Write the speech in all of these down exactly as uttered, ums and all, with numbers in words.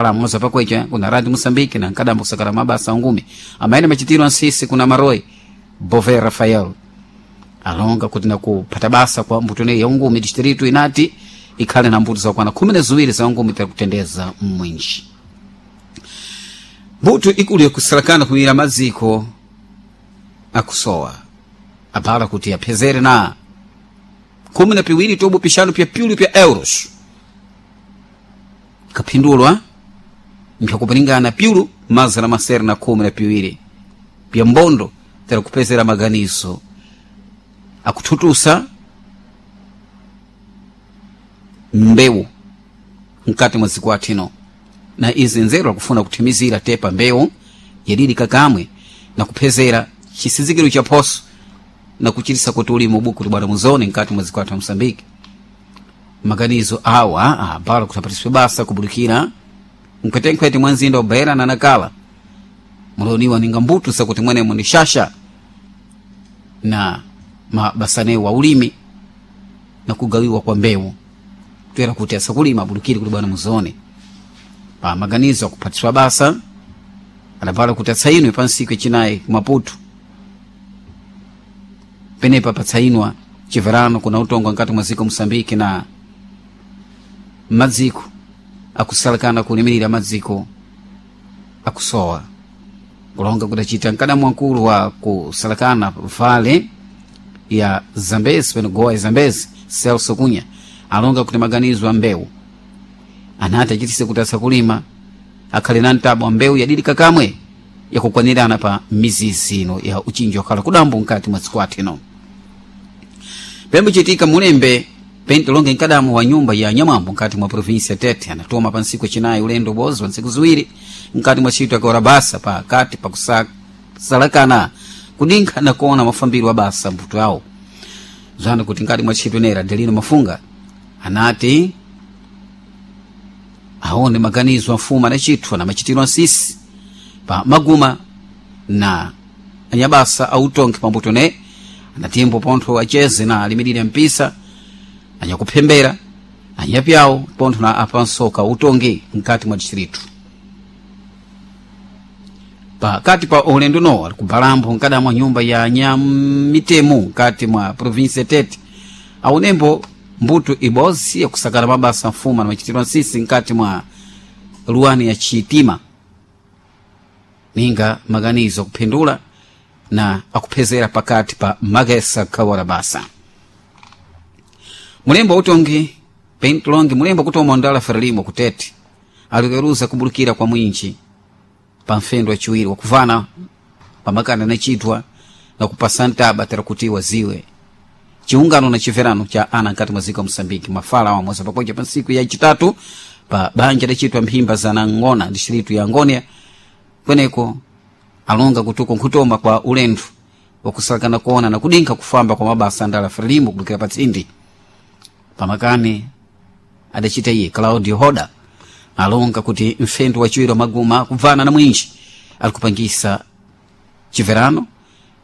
Moza pakwecha kuna radi Moçambique na nkadambo kusakala mabasa ngumi amaene machitiro ansisi kuna Maroi Bove Rafael alonga kuti nakupata basa kwa mbuto ne ya ungumi distrito inati ikhale na mbuto zakwana khumi na ziwiri za ungumi takutendeza mwinji mbuto ikulu yakusalakana kumira maziko akusowa abala kuti apezere na khumi na piwiri tobo pixanu pya piulu pya euros kaphindulwa mpyakupaningana piulu mazana masere na khumi na piwiri pya mbondo tera kupezera maganizo akuthutusa mbewu mkati mwa dziko athino na izi nzeru akufuna kuthimizira tepa mbewu yadidi kakamwe na kuphezera chisizikiro cha phoso na kuchitisa kuti ulimi ubuku kuti bwana muzone mkati mwa dziko athu a Moçambique maganizo awa abala kuti apatiswe basa kubulikira mkhwetenkhwete mwa mzinda wa Beira na Nacala muloniwa ninga mbuto zakuti mwenemo ni shasha na mabasanewo wa ulimi na kugawiwa kwa mbewu toera kuti asakulima abulukire kuti bwana muzone pa maganizo akuphatiswa basa adapala kuti atsayinwe pa ntsiku yacinayi ku Maputo penepa patsayinwa chiverano kuna utongo nkati mwa dziko Moçambique na madziko akusalakana kulimirira madziko akusowa kulonga kudacita mkadamu wankulu wa kusalakana vale ya Zambezi peno goa ya Zambezi Celso Cunha alonga kuti maganizo a mbewu anati achitise kuti asakulima akhale na mtabo wa mbewu yadidi kakamwe yakukwanirana pa mizizi ino ya uchinji wakhala kudambo mkati mwa dziko athino pembo chitika mulembe pente longe mkadamu wa nyumba ya nyamwambo mkati mwa provinsi ya Tete anatoma pa ntsiku yacinayi ulendo bozi wa ntsiku ziwiri mkati mwa ntchito yakuora basa pakati pakusalakana kudinkha na kuona mafambiro wa basa mbuto yawo zwana kuti nkati mwa ntchito inera Adelino Mafunga anati aone maganizo amfumu adacithwa na machitiro ansisi pa maguma na anyabasa autonke pambuto ne anatimbo pontho acheze na alimirire mpisa anyakuphembera anyapyawo pontho na apansoka utongi mkati mwa distritu pakati pa ulendo no ali kubalambo mkada mwa nyumba ya nyamitemu mkati mwa provinsi ya Tete aunembo mbuto ibozi yakusakala mabasa mfuma na machitiro ansisi mkati mwa luwani ya chitima ninga maganizo akuphindula na akuphezera pakati pa magesa kawala basa mulembo utongi pentlongi mulembo kutoma ndala ferelimo kutete alikeruza kubulukira kwa mwinji pa mfendo wachiwiri wakuvana pamakana nachitwa na kupasa ntaba tera kuti waziwe chiungano na chiverano cha ana nkati mwa ziko Moçambique mafala wa moza pakoja pa ntsiku ya chitatu pa banja lachitwa mphimba za nangona distritu ya Ngonia kweneko alonga kutuko nkhutoma kwa ulendo wakusalakana kuona na kudinkha kufamba kwa mabasa andala frelimo kubukira pa tsindi pamakani adacita iye Claudio Hoda alonga kuti mfendo wachiwiri wa maguma kubvana na mwinji alikupangisa chiverano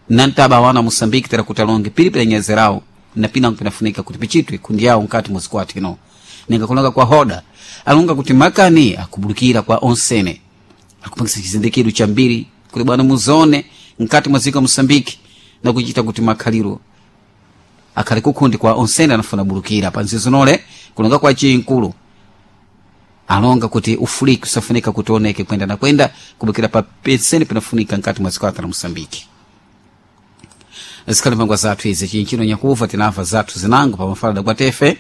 na ntaba wana Moçambique tera kuti alonge pilipili nyezerawo na pinango pinafunika kuti pichitwe kundi yawo nkati mwa zikwati ino ninga kulonga kwa Hoda alonga kuti makani akubulukira kwa onsene akupangisa chizindikiro cha mbiri kuti bwana muzone nkati mwa dziko Moçambique na kuchita kuti makhaliro akhale kukhundi kwa onsene anafuna bulukira pa nzizinole kulonga kwa chinkulu alonga kuti ufuliki usafunika kuti oneke kwenda na kwenda kubukira pa pensene pinafunika nkati mwa dziko la Moçambique zikhali mpangwa zathu izi chinchino nyakuva tinamva zathu zinango pa mafalada kwa tefe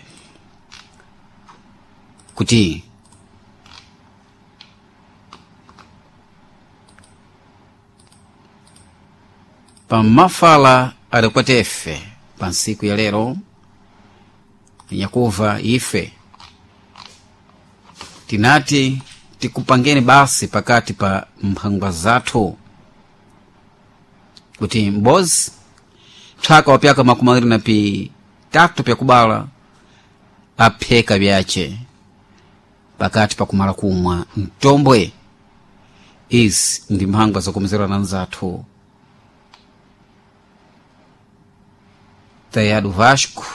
kuti pa mafala adakwatefe pa ntsiku ya lero nyakuva ife tinati tikupangeni basi pakati pa mphangwa zathu kuti mbozi psaka wapyaka makumi awiri na pitatu pyakubala apheka byace pakati pakumala kumwa mtombwe izi ndi mphangwa zakumizirana nzathu Tayado Vasco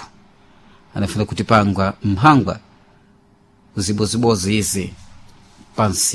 anafuna kutipangwa mphangwa zibozibozi izi pansi.